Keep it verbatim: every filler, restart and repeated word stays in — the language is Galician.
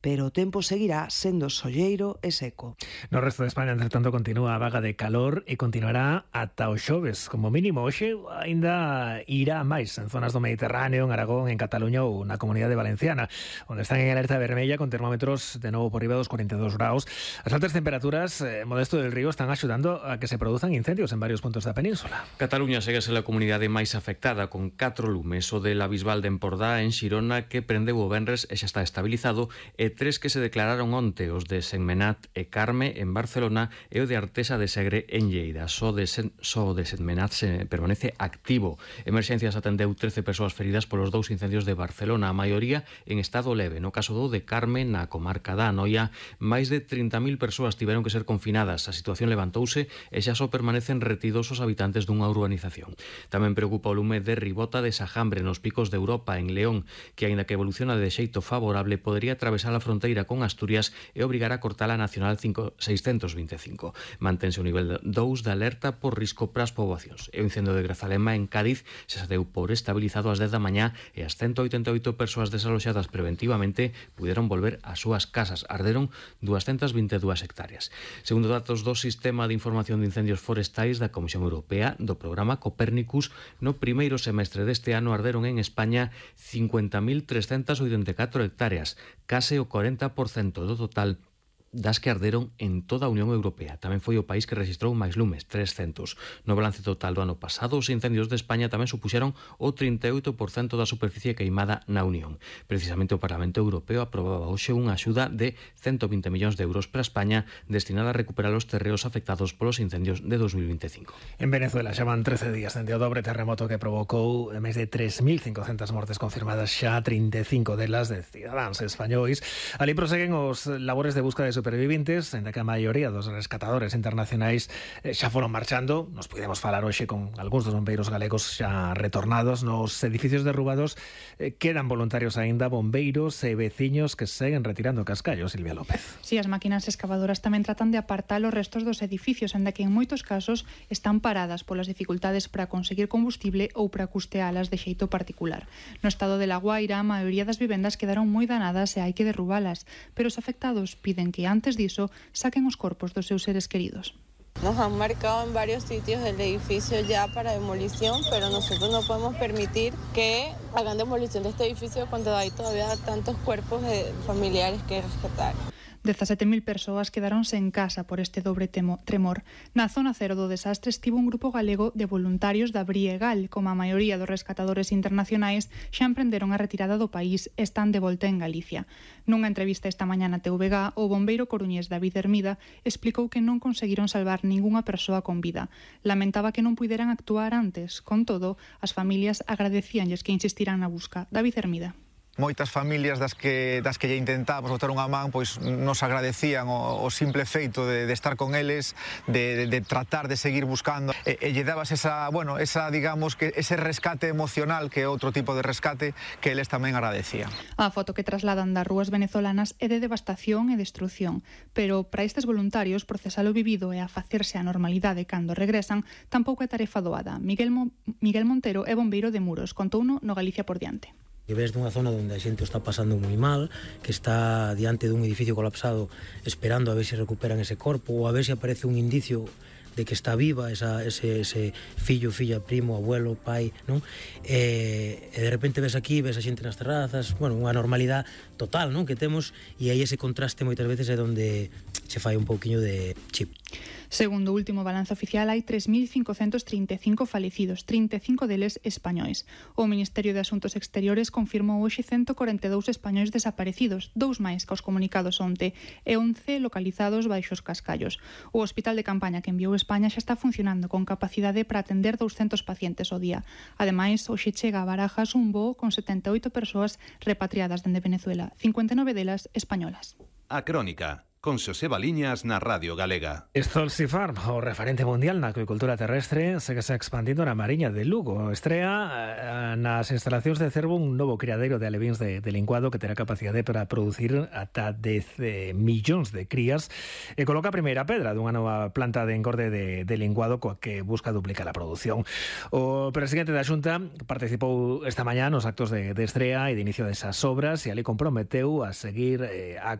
pero o tempo seguirá sendo solleiro e seco. No resto de España, entre tanto, continúa a vaga de calor e continuará ata o xoves. Como mínimo, hoxe ainda irá máis en zonas do Mediterráneo, en Aragón, en Cataluña ou na Comunidade Valenciana, onde están en alerta vermella con termómetros de novo por riba dos cuarenta e dous graus. As altas temperaturas, eh, Modesto del Río, están axudando a que se produzan incendios en varios puntos da península. Cataluña segue a ser a comunidade máis afectada, con catro lumes, o de la Bisbal de Empordá en Xirona, que prendeu o venres e xa está estabilizado, e tres que se declararon onte, os de Sentmenat e Carme en Barcelona e o de Artesa de Segre en Lleida. Só de, Sen, só de Sentmenat se permanece activo. Emerxencias atendeu trece persoas feridas polos dous incendios de Barcelona, a maioría en estado leve. No caso do de Carme, na comarca da Anoia, máis de trinta mil persoas tiveron que ser confinadas. A situación levantouse e xa só permanecen retidos os habitantes dunha urbanización. Tamén preocupa o lume de Ribota de Sajambre nos Picos de Europa, en León, que, aínda que evoluciona de xeito favorable, podería atravesar a fronteira con Asturias e obrigar a cortar a Nacional seiscentos vinte e cinco. Mantense o nivel dous de alerta por risco para as poboacións. E o incendio de Grazalema en Cádiz xa se deu por estabilizado ás dez da mañá e as ciento oitenta e oito persoas desaloxadas preventivamente puderon volver ás súas casas. Arderon doscientas vinte e dúas hectáreas. Segundo datos do Sistema de Información de Incendios Forestais da Comisión Europea, do programa Copérnicus, no primeiro semestre deste ano arderon en España cincuenta mil trescentas oitenta e catro hectáreas, case o cuarenta por cento do total das que arderon en toda a Unión Europea. Tamén foi o país que registrou máis lumes, trescentos. No balance total do ano pasado, os incendios de España tamén supuxeron o trinta e oito por cento da superficie queimada na Unión. Precisamente o Parlamento Europeo aprobaba hoxe unha axuda de ciento vinte millóns de euros para España destinada a recuperar os terreos afectados polos incendios de dos mil vinte e cinco. En Venezuela xa van trece días dende o dobre terremoto que provocou máis de tres mil cincocentas mortes confirmadas, xa trinta e cinco delas de cidadáns españois. Ali proseguen os labores de busca de superviventes, en que a maioría dos rescatadores internacionais eh, xa foron marchando. Nos podemos falar hoxe con algúns dos bombeiros galegos xa retornados. Nos edificios derrubados eh, quedan voluntarios aínda, bombeiros e veciños que seguen retirando cascallos. Silvia López. Si, as máquinas excavadoras tamén tratan de apartar os restos dos edificios, en que en moitos casos están paradas polas dificultades para conseguir combustible ou para custealas de xeito particular. No estado de La Guaira, a maioría das vivendas quedaron moi danadas e hai que derrubalas, pero os afectados piden que antes diso saquen os corpos dos seus seres queridos. Nos han marcado en varios sitios del edificio ya para demolición, pero nosotros no podemos permitir que hagan demolición de este edificio cuando hay todavía tantos cuerpos de familiares que rescatar. dezasete mil persoas quedaronse en casa por este dobre temo, tremor. Na zona cero do desastre estivo un grupo galego de voluntarios da Briegal. Como a maioría dos rescatadores internacionais, xa emprenderon a retirada do país e están de volta en Galicia. Nunha entrevista esta mañá na T V G, o bombeiro coruñés David Hermida explicou que non conseguiron salvar ningunha persoa con vida. Lamentaba que non puideran actuar antes. Con todo, as familias agradecíanlles que insistiran na busca. David Hermida. Moitas familias das que das que lle intentamos botar unha man, pois nos agradecían o, o simple feito de, de estar con eles, de, de, de tratar de seguir buscando e, e lle dabas esa, bueno, esa, digamos, que ese rescate emocional que é outro tipo de rescate que eles tamén agradecían. A foto que trasladan das rúas venezolanas é de devastación e destrución, pero para estes voluntarios procesar o vivido e a facerse a normalidade cando regresan tampouco é tarefa doada. Miguel, Mo, Miguel Montero é bombeiro de Muros, contouno no Galicia por diante. Que ves dunha zona onde a xente está pasando moi mal, que está diante dun edificio colapsado esperando a ver se recuperan ese corpo ou a ver se aparece un indicio de que está viva esa, ese, ese fillo, filla, primo, abuelo, pai, non? E, e de repente ves aquí, ves a xente nas terrazas, bueno, unha normalidade total, non? Que temos, e aí ese contraste moitas veces é onde se fai un pouquiño de chip. Segundo o último balance oficial, hai tres mil cincocentos trinta e cinco falecidos, trinta e cinco deles españois. O Ministerio de Asuntos Exteriores confirmou hoxe ciento corenta e dous españois desaparecidos, dous máis que os comunicados onte, e once localizados baixo os cascallos. O hospital de campaña que enviou España xa está funcionando con capacidade para atender douscentos pacientes ao día. Ademais, hoxe chega a Barajas un voo con setenta e oito persoas repatriadas dende Venezuela, cincuenta e nove delas españolas. A Crónica, con Xosé Baliñas na Radio Galega. Stolzy Farm, o referente mundial na acuicultura terrestre, segue se expandindo na Mariña de Lugo. Estrea nas instalacións de Cervo un novo criadeiro de alevíns de, de linguado que terá capacidade para producir ata dez millóns de crías e coloca a primeira pedra dunha nova planta de engorde de, de linguado coa que busca duplicar a produción. O presidente da Xunta participou esta mañá nos actos de, de estrea e de inicio desas obras e ali comprometeu a seguir eh, a